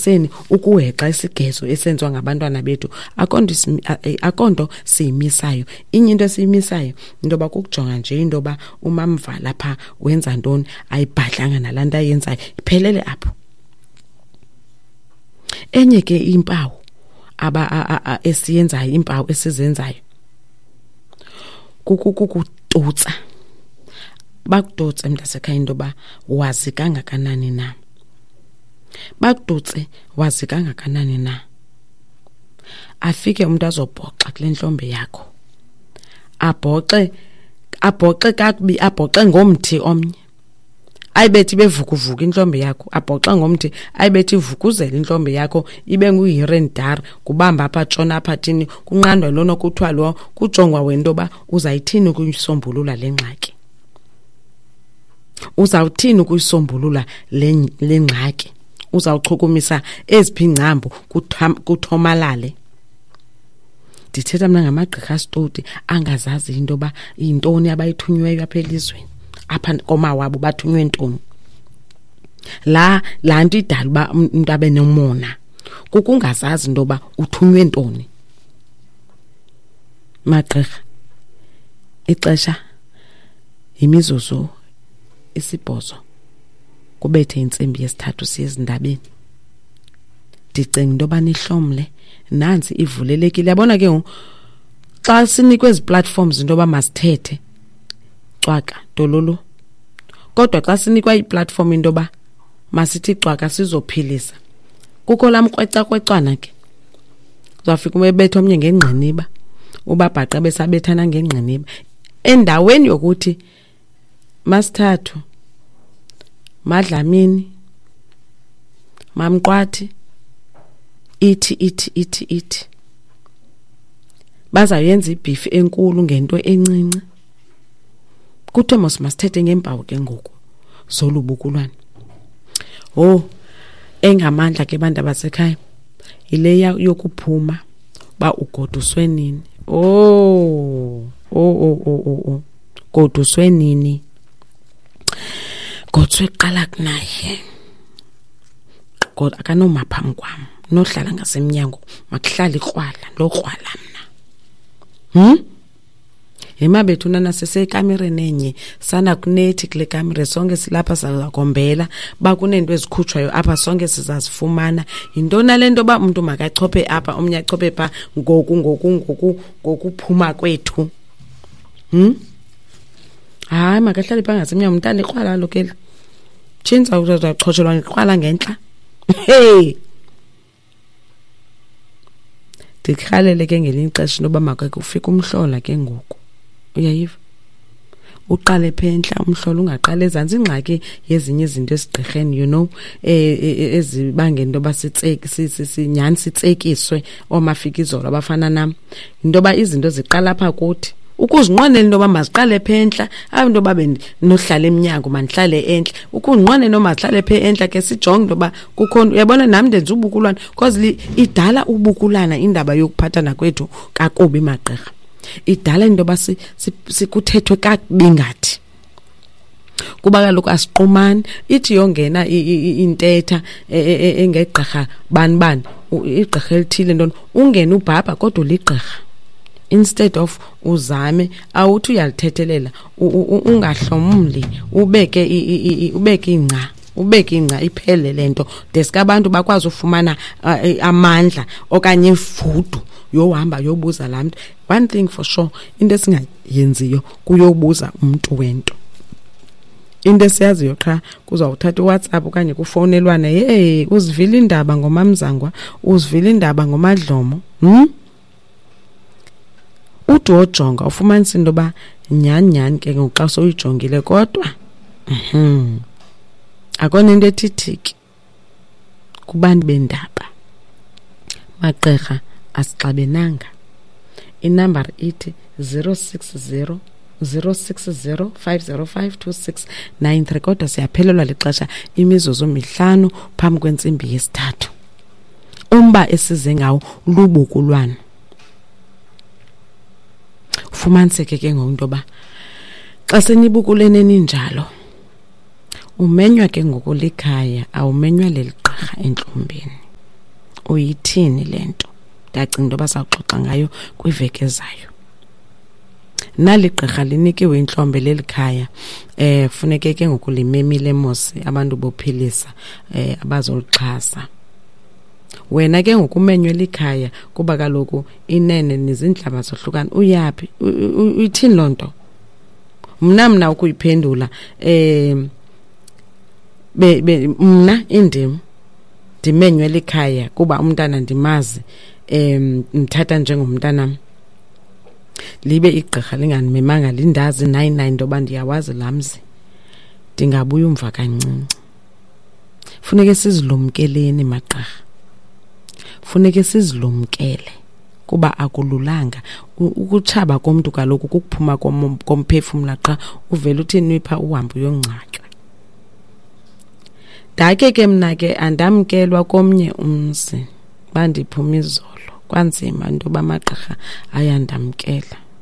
ekumiseni ukuhexa isigezo esenziwa ngabantwana bethu, akonto siyimisayo. Inye into esiyimisayo into yoba kukujonga nje into yoba umamvala phaa wenza ntoni, ayibhadlanga nalaa nto ayenzayo, iphelele apho. Enye ke impawu esiyenzayo, iimpawu esizenzayo kukututsa. Bakututse mntasekhaya into yoba wazi kangakanani na, bakututse wazi kangakanani na. Afike umntu azobhoxa kule ntlombe yakho, abhoxe, abhoxe kakubi, abhoxe ngomthi omnye, ayibethi bevukuvuka intlombe yakho, abhoxe ngomthi, ayibethi ivukuzela intlombe yakho, ibe nguhirendar, kubamba apha, tshona apha, thini, kunqandwa lona, kuthiwa lo, kujongwa wena into yoba uzayithini ukuyisombulula le ngxaki, uzawuthini ukuyisombulula le ngxaki, uzawuchukumisa eziphi iingcambu kuthomalale. Ndithetha mna ngamagqirha asitoti angazazi into yoba yintoni abayithunyweyo apha elizweni, apha komawabo bathunywe ntoni. Laa nto idala uba umntu abe nomona kukungazazi into yoba uthunywe ntoni. Magqirha, ixesha yimizuzu 8 kubethe intsimbi yesithathu siye ezindabeni. Ndicinga into yoba nihlomle, nantsi ivulelekile. Yabona ke ngoku xa sinikwe ezi platforms into yoba masithethe, cwaka dololo. Kodwa xa sinikwa i-platform into yoba masithi cwaka sizophilisa, kukho laa mkrwecakrwecwana ke. Uzawufika ubetha omnye ngengqiniba, ubabhaqa besabethana ngengqiniba. Endaweni yokuthi masithathu, Madlamini, Mamqwathi, ithi, ithi, ithi, ithi. Bazawuyenza ibhifi enkulu ngento encinci. Kuthiwe mos masithethe ngeempawu ke ngoku zolubukulwane. Oh, engamandla ke bantu abasekhaya yile yokuphuma uba ugoduswe nini. Oh, oh, oh, oh, oh, oh. Goduswe nini? Goduswe kuqala kunaye. God akanoma phambi kwam, nohlala ngasemnyango, makuhlale ikrwala, ndokrwala mna. Yema bethu nana sisekamereni enye, sana kunethi kule kamere, sonke silapha sizakombela, ba kuneento ezikhutshwayo apha sonke sizazifumana. Yintoni le nto ba umntu makachophe apha, omnye achophe pha, ngoku, ngoku, ngoku, ngokuphuma kwethu? Hayi, makahlale pha ngasemnyango, umntana ikrwala kaloku eli. Tshintsha, uzawuchotshelwa ngekrwala ngentla. Hey! Ndikhalele ke ngelinye ixesha into yoba makake ufike umhlola ke ngoku. Uyayiva? Uqale pha entla umhlola, ungaqali ezantsi. Ingxaki yezinye izinto esigqirheni, ezibangela into yoba nyhani sitsekiswe oomafikizolo abafana nam, yinto yoba izinto ziqala apha kuthi. Ukuzinqwenela into yoba maziqale pha entla, ayo into yoba bendinohlala emnyango mandihlale entla. Ukuzinqwenela into yoba mazihlale pha entla ke sijonge into yoba kukho, uyabona nam ndenza ubukulwana, because idala ubukulana indaba yokuphathana kwethu kakubi magqirha. Idala into yoba sikuthethwe kakubi ngathi. Kuba kaloku asiqumani, ithi yongena intetha engegqirha bani bani, igqirha elithile ntoni, ungene ubhabha kodwa uligqirha. Instead of uzame, awuthi uyalithethelela, ungahlomli, ubeke ubeke ingca, ubeke ingca iphele le nto. Deske abantu bakwazi ufumana amandla okanye ifudu yohamba yobuza laa mntu. One thing for sure, into esingayenziyo kuyobuza umntu wento. Into esiyaziyo qha kuzawuthatha iWhatsApp okanye kufowunelwane, hey, uzivile iindaba ngoMamzangwa, uzivile iindaba ngoMadlomo. Ude wojonga ufumanise into yoba nyhani nyhani ke ngoku xa sowuyijongile kodwa, akho nto ethi thiki kubantu bendaba. Magqirha, asixabenanga. Inambari ithi 060 060 505 2693, kodwa siyaphelelwa lixesha, imizuzu 5 phambi kwentsimbi yesithathu. Umba esize ngawo lubukulwana. Ufumaniseke ke ngoku into yoba xa senibukulene ninjalo, umenywa ke ngoku likhaya, awumenywa leli gqirha entlombeni. Uyithini le nto? Ndacinga into yoba sawuxoxa ngayo kwiveki ezayo. Nali gqirha linikiwe intlombe leli khaya, funeke ke ngoku limemile mos abantu bophilisa abazolixhasa. Wena ke ngoku umenywe likhaya kuba kaloku inene nizintlaba zohlukana. Uyaphi? Uyithini loo nto? Mna ukuyiphendula, mna indim ndimenywe likhaya kuba umntana ndimazi, ndithatha njengomntanam. Libe igqirha lingandimemanga, lindazi nayi nayi into yoba ndiyawazi laa mzi, ndingabuya umva kancinci. Funeke sizilumkeleni magqirha, funeke sizilumkele kuba akululanga. Ukutshaba komntu kaloku kukuphuma komphefumla qha, uvele uthini ipha uhambe uyongcwatywa. Ndakhe ke mna ke andamkelwa komnye umzi, bandiphuma izolo, kwanzima into yoba amagqirha ayandamkela.